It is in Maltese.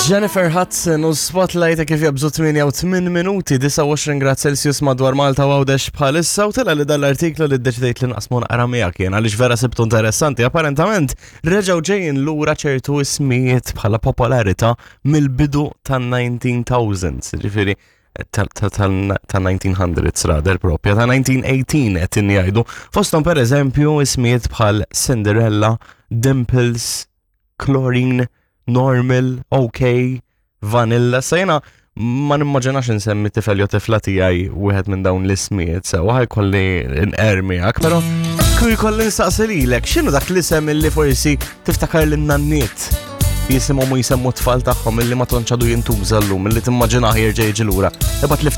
Jennifer Hudson u Spotlight kif jabżu 8 minuti 29 grad Celsius madwar Malta u Għawdex bħalissa u tela li dal-artiklu li ddeċidejt li naqsmu naqra miegħek jien għaliex vera sibtu interessanti. Apparentament reġgħu ġejjin lura ċertu ismijiet bħala popolarità mill-bidu tan-19,000s, ġifieri ta' 1900s rather propja, ta' 1918 qed jgħidu. Fosthom pereżempju ismijiet bħal Cinderella, Dimples, Chlorine, Normal, OK, Vanilla. Sa jena ma nimmaġinax insemmi tifel jew tifla tiegħi wieħed minn dawn l-ismijiet sewa ħajkolli nqer miegħek, però kieku jkolli nsaqsi lilek, x'inhu dak l-isem illi forsi tiftakar lin-nanniet jisimhom u jsemmu t-tfal tagħhom illi ma tantx għadu jintuża llum illi timmaġinah jerġa' jiġi lura. Ibgħat li.